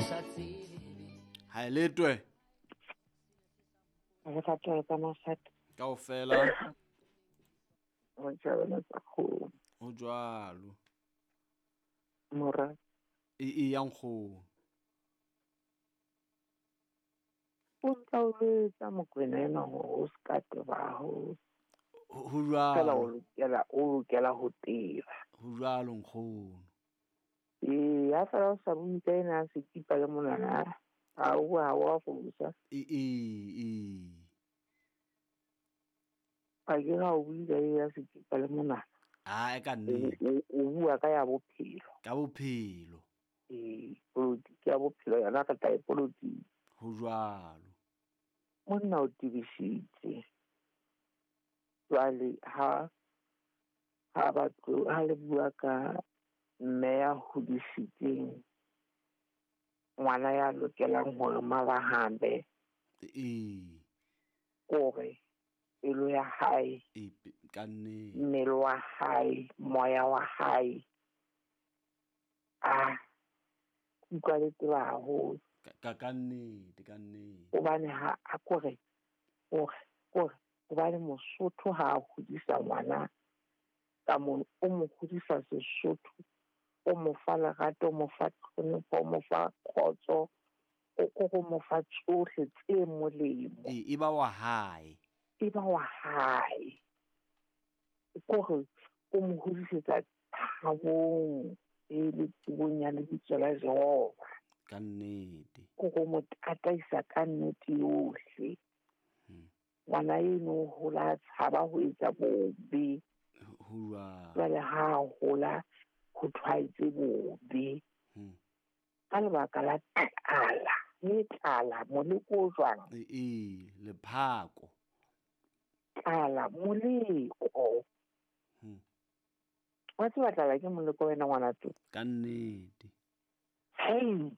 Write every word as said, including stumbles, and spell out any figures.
Ke sa tsebe. Ha e letwe. Re fa tlo ka masata. Kaofela. Ho tjhabela tsa kgomo. Ho jwalo. Mora. E e ya nkgono. O ntsa o letsa Mokwena ena hore o ska teba haholo. Ho jwalo. Fela o lokela, o lokela ho teba. Ho jwalo nkgono. Ee, ha fela o sa bue ka ena a sekipa le monwana, ha o ha wa fosa. E e e. Ha ke ha o bue ka ya sekipa le monwana. Ah, e ka nnete. O, o bua ka ya bophelo. Ka bophelo. Ee, polotiki ya bophelo yona ka tla e polotiki. Ho jwalo. Monna o tebisitse. Jwale ha, ha batho, ha le bua ka mme ya hodisitseng ngwana ya lokelang hore mabahambe. Ee. Kore pelo ya hae, E, pe-, ka nnete. mmele wa hae, moya wa hae, a utlwa le tseba haholo. Ka, ka, ka nnete, ka nnete. Hobane ha a kore, kore, kore, hobane Mosotho ha a hodisa ngwana ka mono, o mo hodisa Sesotho, o mo fa lerato, o mo fa tlhonepho, o mo fa kgotso, o ko go mo fa tsohle tse molemo. E, e ba wa hae. E ba wa hae. Kore o mo hodisetsa thabong e le tsebong ya lebitso la Jehova. Ka nnete. Kore o mo tataisa ka nnete yohle. Hmm. Ngwana eno o hola a tshaba ho etsa bobe. Ho jwalo. Jwale ha a hola ho tshwaetse bobe. Hmm. Ka lebaka la tlala, le tlala moleko o jwang? E, e, lephako. Tlala moleko. Hmm. Wa tseba tlala ke moleko wena ngwana tlo? Ka nnete. Hei,